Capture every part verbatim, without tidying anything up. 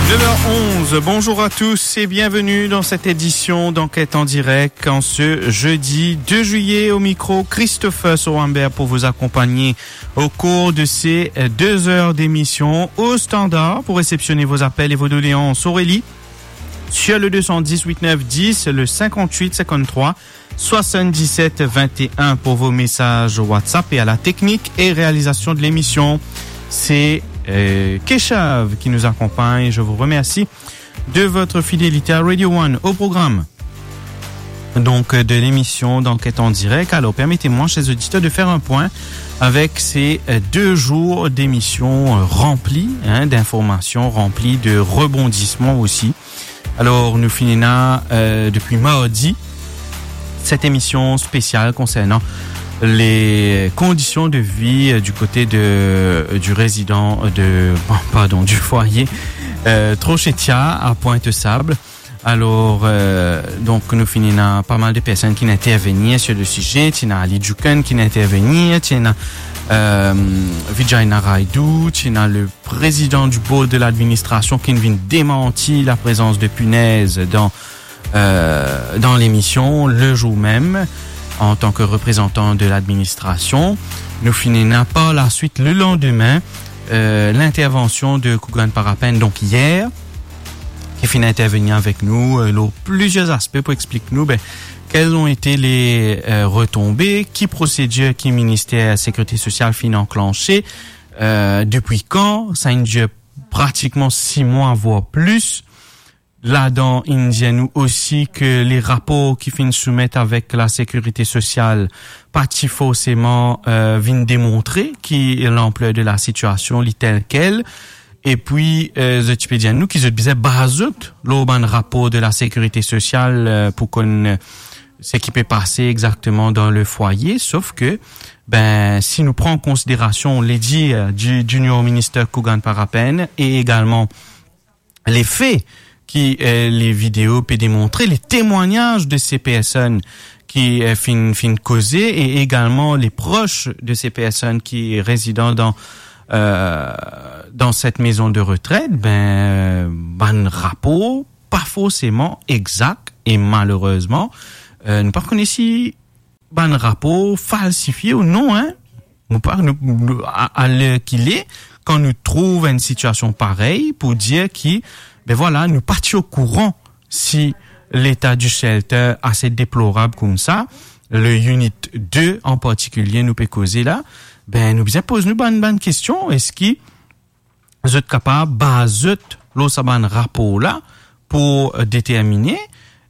Neuf heures onze, bonjour à tous et bienvenue dans cette édition d'Enquête en direct en ce jeudi deux juillet. Au micro, Christopher Sorambert pour vous accompagner au cours de ces, euh, deux heures d'émission. Au standard, pour réceptionner vos appels et vos doléances, Aurélie, sur le deux cent dix, huit neuf dix, le cinquante-huit cinquante-trois soixante-dix-sept vingt et un pour vos messages WhatsApp. Et à la technique et réalisation de l'émission, c'est, euh, Keshav qui nous accompagne. Je vous remercie de votre fidélité à Radio One. Au programme, donc, euh, de l'émission d'Enquête en direct. Alors, permettez-moi, chers auditeurs, de faire un point avec ces, euh, deux jours d'émissions, euh, remplies, hein, d'informations, remplies de rebondissements aussi. Alors, nou finn ena, euh, depuis mardi, cette émission spéciale concernant les conditions de vie, euh, du côté de, euh, du résident, euh, de, pardon, du foyer, euh, Trochetia à Pointe-Sable. Alors, euh, donc, nou finn ena pas mal de personnes qui intervenir sur le sujet. Ti ena Ali Djoukene qui intervenir, ti ena, euh, Vijay Naraidou, ti ena le président du board de l'administration qui vinn démentir la présence de punaises dans, euh, dans l'émission le jour même, en tant que représentant de l'administration. Nou finn ena par la suite, le lendemain, euh, l'intervention de Kougan Parapen, donc hier, ki finn intervenir avek nou, euh, lor plizier aspe pou explik nou, ben, quelles ont été les, euh, retombées, ki prosedir ki Minister Sekirite Sosial finn anklanse, euh, depi kan, sa inn dir pratikman sis mwa, voire plis. Ladan, inn dir nou osi ke le rapor ki finn soumet avek la Sekirite Sosial pa ti forseman, euh, vinn demontre ki lanpler de la sitiasion, li tel kel. Epi, euh, zot ti pe dir nou ki zot bizin baze zot lor bann rapor de la Sekirite Sosial, euh, pou konn, euh, seki pe pase exakteman dan le foyer, sof ke, ben, si nou pran an konsiderasion le dir, euh, di Junior Minister Kougan Parapen e egalman le fe ki, euh, le video pe demontre, le temwagnaz de se personn ki, euh, finn, finn koze e egalman le pros de se personn ki rezidan dan, euh, dan set mezon de retret, ben, bann rapor pa forseman exak e malerezman, euh, nou pa kone si bann rapor falsifie ou non, hein. Nou pa, nou, nou, a, a ler ki le, kan nou trouv enn sitiasion parey pou dir ki, ben vwala, nou pa ti okouran si leta di shelter ase deplorab koumsa, le unit de an partikilie nou pe koze la, ben nou bizin poz nou bann, bann kestion, eski zot kapav baz zot lor sa bann rapor la pou, euh, determine.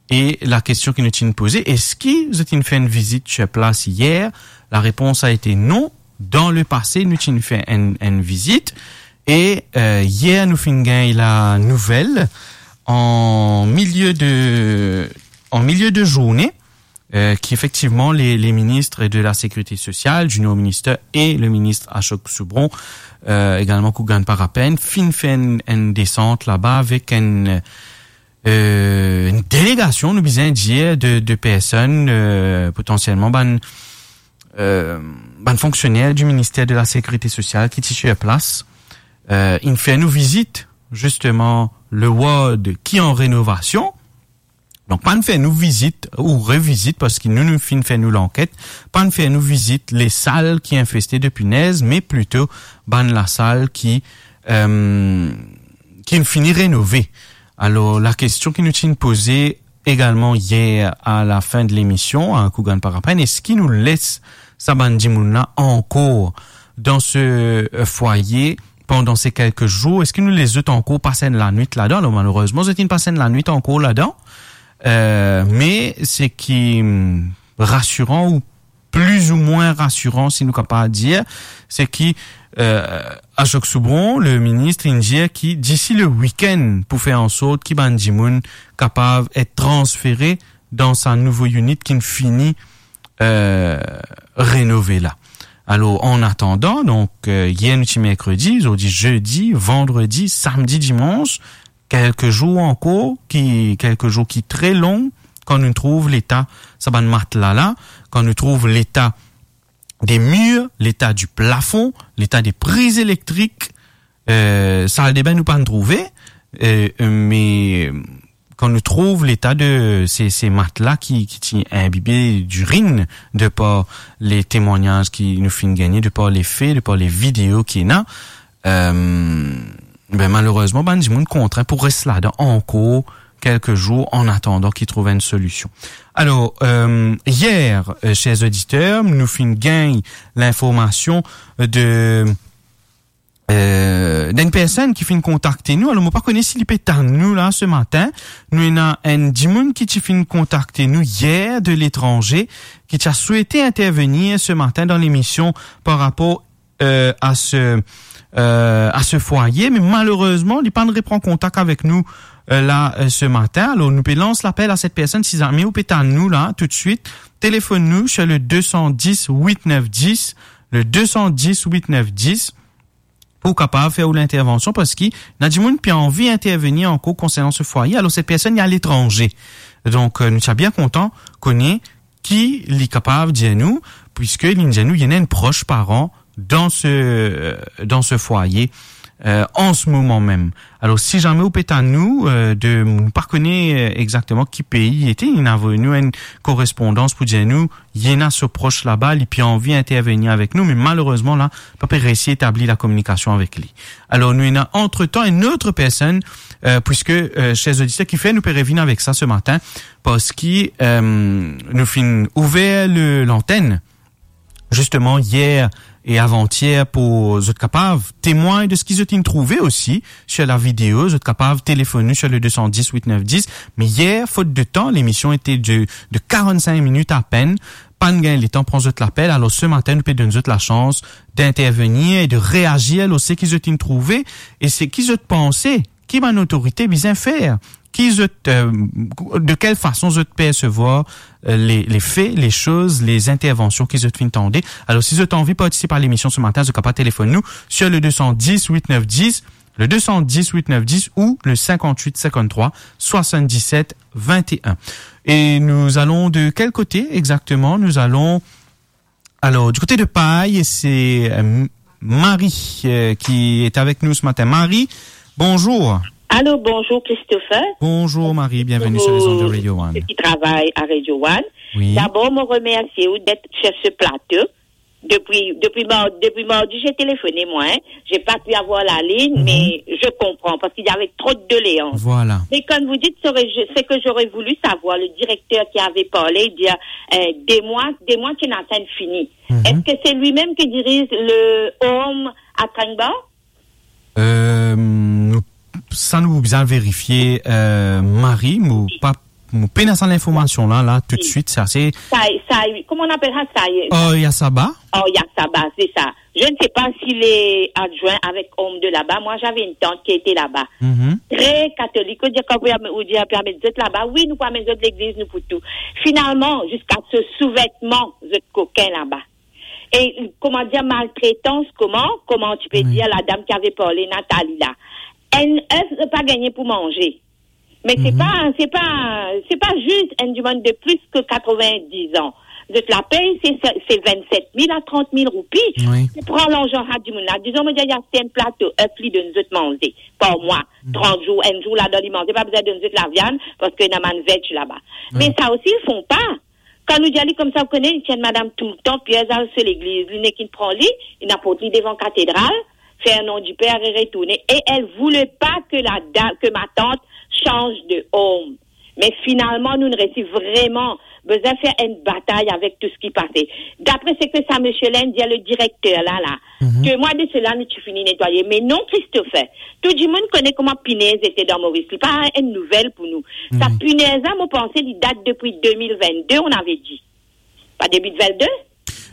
E la kestion ki nou ti inn poze, eski zot inn fer enn vizit sur plas yer? La repons a ete non. Dan le pase, nou ti inn fer enn, enn vizit. E, euh, yer, nou finn gagn la nouvel an milie de, an milie de zourne, euh, ki efektivman le, le ministre de la Sécurité sociale, Junior Minister, e le ministre Ashok Soubron, euh, egalman Kougan Parapen, finn fer enn, enn desant laba avek enn, euh, enn delegasion, nou bizin dir, de, de personn, euh, potansielman bann, euh, bann fonksioner di Minister de la Sécurité sociale ki ti sur plas. Euh, inn fer nou vizit, zisteman, le ward ki an renovasion. Donk, pa'nn fer nou vizit ou revizit, parski nou, nou finn fer nou lanket, pa'nn fer nou vizit le sal ki infeste de pinez, me plito bann lasal ki, euh, ki fini renove. Alor, la kestion ki nou ti inn poze egalman yer a la fin de lemision a Kougan Parapen, eski nou les sa bann dimoun la ankor dan se, euh, fwaye pandan se kelke zour? Eski nou les zot ankor pas enn lanwit ladan? Alor, malerezman, zot inn pas enn lanwit ankor ladan. Euh, me seki, hmm, rasiran ou pli ou mwin rasiran, si nou kapav dir, se ki, euh, Ashok Soubron, le ministre, inn dir ki disi le wikenn pou fer ansort ki bann dimoun kapav et transfere dan sa nouvo unit ki'nn fini, euh, renove la. Alor, an atandan, donk, euh, yer nou ti merkredi, zordi zedi, vandredi, samdi, dimans, kelke zour ankor, ki, kelke zour ki tre long, kan nou trouv leta sa bann matla la, kan nou trouv leta de mir, leta di plafon, leta de priz elektrik, euh, saldebin nou pa'nn trouve, E, e, me, kan nou trouv leta de se, se matla ki, ki ti inbibe dirin, de par le temwagnaz ki nou finn gagne, de par le fe, de par le video ki ena, e, be, malerezman, bann dimoun kontrin pou res ladan ankor kelke zour, an atandan ki trouv enn solision. Alor, e, yer, e, ser oditer, nou finn gagn linformasion de, e, d'enn personn ki finn kontakte nou. Alor, mo pa kone si li pe tann nou la se matin. Nou ena enn dimoun ki ti finn kontakte nou yer de letranze, ki ti a swete intervenir se matin dan lemision par rapor, e, a se, e, a se fwaye, me malerezman, li pa'nn repran kontak avek nou, e, la, e, se matin. Alor, nou pe lans lapel a set personn, si zame ou pe tann nou la, toutswit, telefonn nou sur le deux cent dix huit neuf dix, le deux cent dix huit neuf dix, pou kapav fer ou lintervansion, parski ena dimoun pe anvi intervenir ankor konsernan se fwaye. Alor, set personn li aletranze. Donk, e, nou ti a bien kontan kone ki li kapav dir nou, puiske li dir nou, li ena enn pros paran dan se, dan se fwaye, e, an se moman mem. Alor, si zame ou pe tann nou, e, de, nou pa kone, e, exakteman ki pei li ete, li inn avoy nou enn korespondans pou dir nou, li ena so pros laba, li pe anvi intervenir avek nou, me malerezman la, pa pe resi etabli lakominikasion avek li. Alor, nou ena antretan enn lot personn, e, puiske, e, ser oditer, ki fer nou pe revinn avek sa se matin, parski, e, nou finn ouver le, lantenn, zisteman, yer e avantier, pou zot kapav temwagn de seki zot inn trouve osi sur la video. Zot kapav telefonn nou sur le deux cent dix huit neuf dix. Me yer, fot de tan, lemision ete de, de quarante-cinq minutes apenn. Pa'nn gagn letan pran zot lapel. Alor, se matin, nou pe donn zot lasans d'intervenir e de reazir lor seki zot inn trouve e seki zot panse, ki bann otorite bizin fer, ki zot, e, de kel fason zot persevwar, e, le, le fe, le soz, le intervansion ki zot finn tande. Alor, si zot anvi partisip a lemision se matin, zot kapav telefonn nou sur le deux cent dix huit neuf dix, le deux cent dix huit neuf dix ou le cinquante-huit cinquante-trois soixante-dix-sept vingt et un. Et nous allons de quel côté exactement ? Nous allons, alors, du côté de Paille, c'est, euh, Marie, euh, qui est avec nous ce matin. Marie, bonjour. Allô, bonjour Christopher. Bonjour Marie, bienvenue sur les ondes de Radio One. Ceux qui travaillent à Radio One. Oui. D'abord, mo remersie ou d'être sur ce plateau. Depuis, depuis mar-, depuis mardi, j'ai téléphoné, moi, hein. J'ai pas pu avoir la ligne, mais je comprends, parce qu'il y avait trop de doléances. Voilà. Mais comme vous dites, ce que j'aurais voulu savoir, le directeur qui avait parlé, il dit, euh, des mois, des mois qu'il est en train de finir. Est-ce que c'est lui-même qui dirige le home à Tangba ? Euh, nou, sa nou bizin verifie, euh, Marie, mo pa, mo pena sa linformasion la, la, toutswit, sa, se... Sa, sa, comment on appelle ça, ça y est ? Oh, Yasaba ? Oh, Yasaba, c'est ça. Je ne sais pas s'il est adjoint avec home de là-bas. Moi, j'avais une tante qui était là-bas. Très catholique. Ou dir, kan ou dir, ou dir, pe amenn zot laba. Wi, nou pou amenn zot legliz, nou pou tou. Finalement, jusqu'à ce sous-vêtement, zot kokin laba. Et, comment dire, maltraitance, comment, comment tu peux dire la dame qui avait parlé, Nathalie, là. Elle, elle n'a pas gagné pour manger. Mais c'est pas, c'est pas, c'est pas juste une demande de plus que quatre-vingt-dix ans. Zot lapey, c'est, c'est vingt-sept mille à trente mille roupies. Ou pran larzan sa dimoun la. Dizon, mo dir, li aste enn plato, enn pli de zot manze par mwa. Trant zour, enn zour ladan li manze, pa bizin donn zot laviann, parski ena bann veg laba. Mais ça aussi, ils font pas. Kan nou dir li koumsa, ou kone, li ti enn madam toultan, Pier Zal so legliz, li nek inn pran li, inn aport li devan katedral, fer non diper e retourne. Et elle voulait pas que la dame, que ma tante change de home. Mais finalement, nou, nou resi vreman bizin fer enn batay avek tou seki pase. D'après ce que sa monsieur la inn dir, le directeur la, la, deux mois de cela, nou ti fini netwaye. Mais non, Christopher, tou dimoun kone kouma pinez ete dan Moris. Li pa enn nouvel pou nou. Sa pinez la, mo panse, li dat depi deux mille vingt-deux, on avait dit. Pa debi vingt-deux ?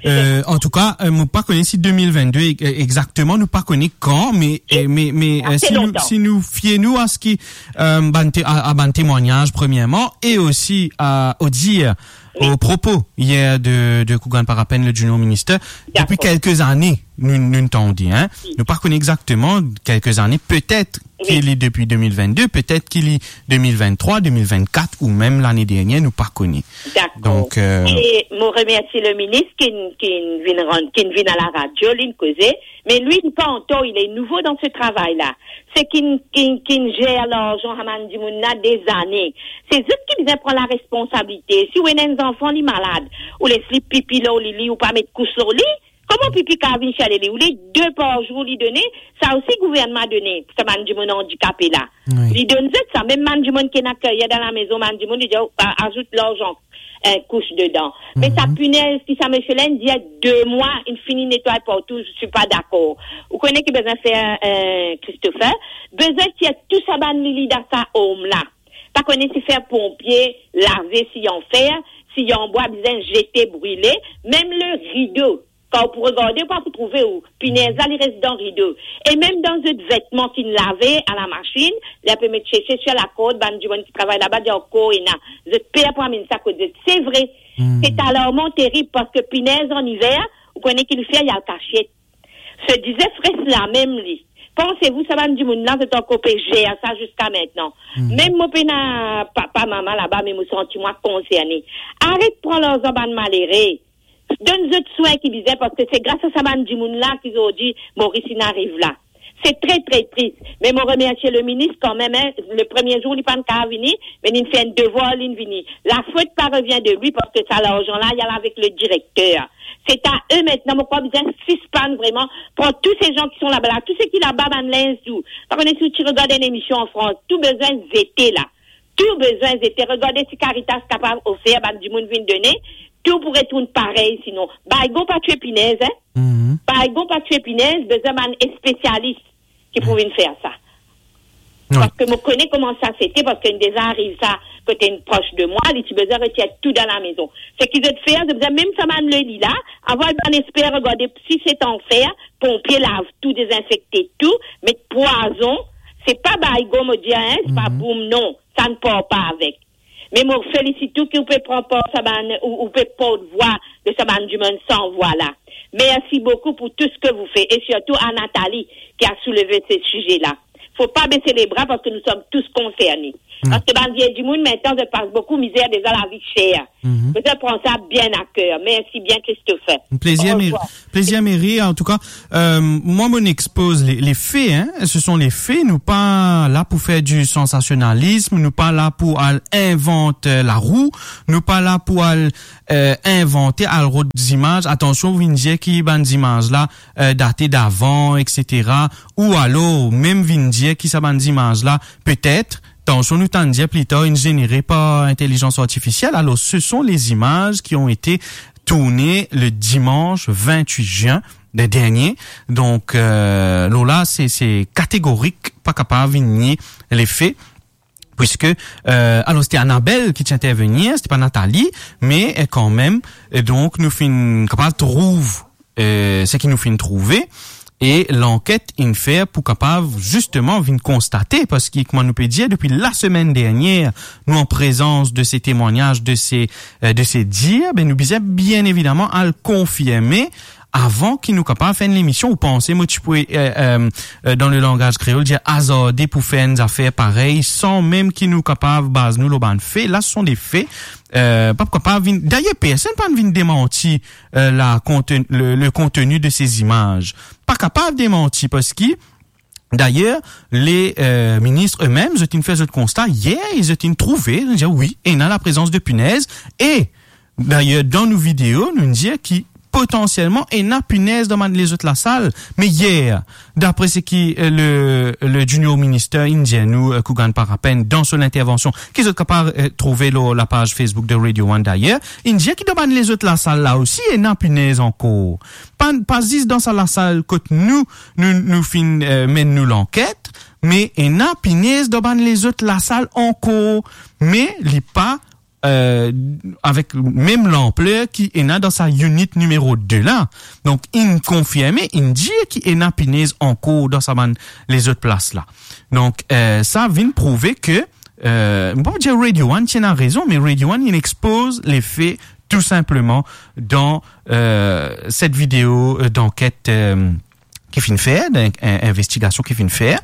Euh, antouka, euh, mo pa kone si deux mille vingt-deux e-, exakteman, nou pa kone kan, me, euh, me, me, euh, si nou, si nou fie nou a seki, euh, bann te-, a, a bann temwagnaz, premierman, e osi a, o dir, o propo yer de, de Kougan Parapen, le junior minister, depi kelke zane, nou, nou tande, hein. Nou pa kone exakteman, kelke zane, petet ki li depi deux mille vingt-deux, petet ki li deux mille vingt-trois, deux mille vingt-quatre ou mem lane dernier, nou pa kone. Dakor. Donk, euh, e mo remersie le minis ki, ki'nn vinn rann, ki'nn vinn a laradio, li'nn koze, me li, li pa an tor, li nouvo dan se travay la. Se ki'nn, ki'nn, ki'nn zer larzan sa bann dimoun la dezane. Se zot ki bizin pran laresponsabilite. Si ou ena enn zanfan, li malad, ou les li pipi lor li, li, ou pa met kous lor li, kouma pipi kapav vinn sale li? Ou les de par zour li done, sa osi gouvernman done pou sa bann dimoun andikape la. Wi. Li donn zot sa, mem bann dimoun ki ena keryer dan lamezon, bann dimoun, li dir, a-, azout larzan, enn kous dedan. Me sa pinez ki sa misie la inn dir, de mwa, inn fini netway partou, je suis pas d'accord. Ou kone ki bizin fer, eh, Christopher? Bizin tir tou sa bann lili dan sa home la. Pa kone si fer ponpie, lave, si anfer, si anbwa, bizin zete, brile, mem le rido. Kan ou pou regarde, ou pa pou trouve ou. Pinez la, li res dan rido. E mem dan zot vetman ki'nn lave a la masinn, li pe met sese sir lakord, bann dimoun ki travay laba dir ankor ena. Zot per pou amenn sa kot zot. Se vre. Se alarman terib, parski pinez an iver, ou kone ki li fer, li al kasiet. Se dizefres la mem li. Panse-vous, sa bann dimoun la, zot ankor pe zer sa ziska mintnan? Mem mo pena papa, mama laba, me mo santi mwa konserne. Aret pran larzan bann malere. Donn zot swin ki bizin, parski se gras a sa bann dimoun la ki zordi Moris inn ariv la. Se tre, tre tris. Me mo remersie le minis kanmem, hein. Le premie zour, li pa'nn kapav vini, me li'nn fer enn devwar, li'nn vini. La faute pa revient de lui, parski sa larzan la, li al avek le direkter. Se a eux maintenant, mo krwar bizin sispann vreman pran tou se zan ki son laba la, tou seki laba, bann linz tou. Pa kone si ou ti regard enn emision an Frans, tou bizin zete la. Tou bizin zete. Regarde si Caritas kapav ofer, bann dimoun vinn done, tou pou retourn parey, sinon. Baygon pa tue pinez, hein? Baygon pa tue pinez, bizin bann spesialis ki pou vinn fer sa. Wi. Parski mo kone kouma sa sete, parski inn deza ariv sa kot enn pros de mwa, li ti bizin retir tou dan lamezon. Seki zot fer, zot bizin mem sa bann lili la, avoy bann esper, regarde si se anfer, ponpie, lav tou, dezinfekte tou, met pwazon, se pa baygon, mo dir, hein, se pa boum, non, sa inn par pa avek. Me mo felisit ou ki ou pe pran par sa bann, ou, ou pe portvwa de sa bann dimoun san vwa la. Merci beaucoup pour tout ce que vous faites, et surtout à Nathalie qui a soulevé ce sujet-là. Faut pas baisser les bras parce que nous sommes tous concernés. Parski bann vie dimoun, mintnan, zot pas boukou mizer deza, lavi ser. Zot pran sa bien à cœur. Merci bien, Christopher. Plezir, Mary. Plezir, Mary. Antouka, euh, mwa, mo expoz le, le fe, hein. Ce sont les faits. Nou pa la pou fer du sensationalisme. Nou pa la pou al invant, euh, larou. Nou pa la pou al, euh, invante, al rod zimaz. Atansion, ou vinn dir ki bann zimaz la, euh, date davan, et cetera. Ou alor, mem vinn dir ki sa bann zimaz la, petet, atansion, nou tann dir pli tar, inn zenere par intelligence artificielle. Alors, ce sont les images qui ont été tournées le dimanche vingt-huit juin de-, dernier. Donk, euh, lor la, se, se kategorik, pa kapav nie le fe, puiske, euh, alors, se ti Annabelle ki ti intervenir, se ti pa Nathalie, me, euh, kanmem, euh, donk, nou finn kapav trouv, euh, seki nou finn trouve, e lanket inn fer pou kapav zisteman vinn konstate, parski, kouma nou pe dir, depi lasemenn dernier, nou an prezans de se temwagnaz, de se, euh, de se dir, be, nou bizin bien evidaman al konfirme avan ki nou kapav fer enn lemision. Ou panse mo ti pou, euh, euh, euh, dan le langaz kreol, dir azarde pou fer enn zafer parey, san mem ki nou kapav baz nou lor bann fe? La, ce sont des faits. Euh, pa kapav vinn, dayer, personn pa'nn vinn demanti, euh, la konten-, le, le contenu de ces images. Pa kapav demanti, parski, dayer, le, euh, minis eux-mêmes, zot inn fer zot konsta yer, e zot inn trouve, zot inn dir, wi, ena laprezans de pinez, e, dayer, dan nou video, nou dir ki potansielman ena pinez dan bann lezot lasal. Me yer, dapre seki, euh, le, le junior minister inn dir nou, euh, Kougan Parapen, dan so intervension, ki zot kapav, euh, trouve lor lapaz Facebook de Radio One dayer, inn dir ki dan bann lezot lasal la osi, ena pinez ankor. Pa, pa zis dan sa lasal kot nou, nou, nou finn, euh, menn nou lanket, me ena pinez dan bann lezot lasal ankor, me li pa, euh, avek mem lanpler ki ena dan sa unit nimero de la. Donk, inn konfirme, inn dir ki ena pinez ankor dan sa bann lezot plas la. Donk, euh, sa vinn prouve ke, euh, mo pa dir Radio One ti ena rezon, me Radio One inn expoz le fe tou sinpleman dan, euh, set video, euh, d'anket, euh, ki finn fer, dan, in, investigasion ki finn fer.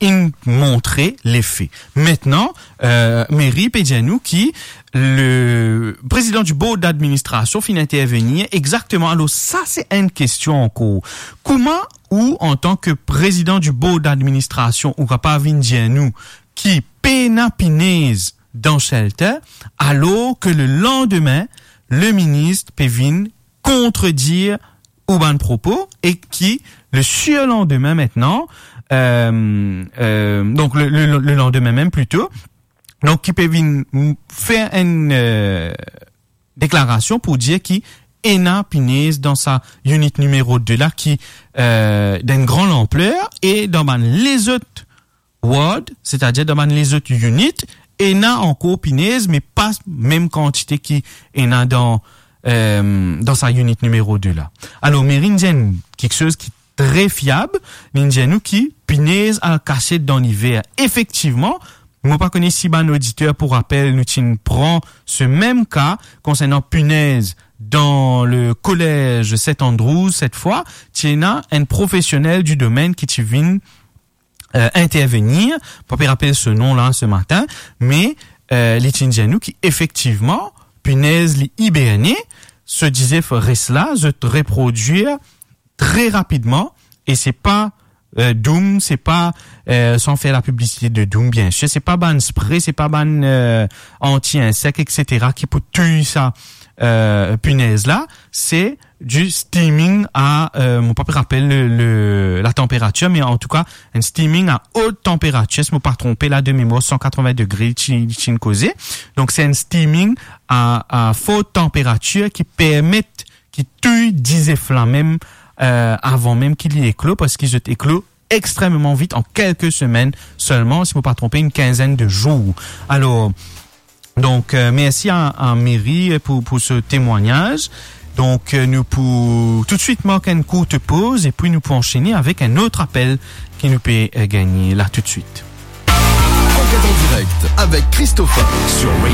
inn montre lefe. Aster, eh, meri pe dir nou ki le prezidan di board d'administrasion finn intervenir exakteman. Alor, sa se enn kestion ankor. Kouma ou, antan ki prezidan di board d'administrasion, ou kapav vinn dir nou ki pena pinez dan shelter, alor ki le landime, le minis pe vinn kontredir ou bann propo e ki le sirlandime aster, eh, eh, donk le, le, le landime mem plito, donk ki pe vinn m-, fer enn, eh, deklarasion pou dir ki ena pinez dan sa unit nimero de la ki, eh, dan enn gran lanpler e dan bann lezot ward, setadir dan bann lezot unit, ena ankor pinez, me pa mem kantite ki ena dan, eh, dan sa unit nimero de la. Alor, meri inn dir enn kiksoz ki tre fiab, li inn dir nou ki pinez al kasiet dan liver. Efektivman, mo pa kone si bann oditer pou rapel, nou ti inn pran se mem ka konsernan pinez dan le kolez Saint Andrews, set fwa, ti ena enn profesionel di domenn ki ti vinn, eh, intervenir, pa pe rapel so nom la se matin, me, eh, li ti inn dir nou ki efektivman, pinez li iberne, so dizef res la, zot reprodwir tre rapidman, e se pa, eh, doum, se pa, eh, san fer la piblisite de doum, biensir, se pa bann spre, se pa bann, eh, anti-insek, et cetera, ki pou touy sa, eh, pinez la, se di steaming a, eh, mo pa pe rapel le, le, la tanperatir, me antouka, enn steaming a ot tanperatir, si mo pa tronpe la, de memwar, san katreven degre, ti, ti inn koze. Donk, se enn steaming a, a for tanperatir ki permet, ki touy dizef la mem, eh, avan mem ki li eklo, parski zot eklo extrememan vit, an kelke semenn selman, si mo pa tronpe, enn kinzenn de zour. Alor, donk, eh, mersi a, a meri pou, pou se temwagnaz. Donk, eh, nou pou toutswit mark enn kourt poz, epi nou pou ansene avek enn lot apel ki nou pe, eh, gagne la toutswit. Enquête en direct avec Christopher sur Radio.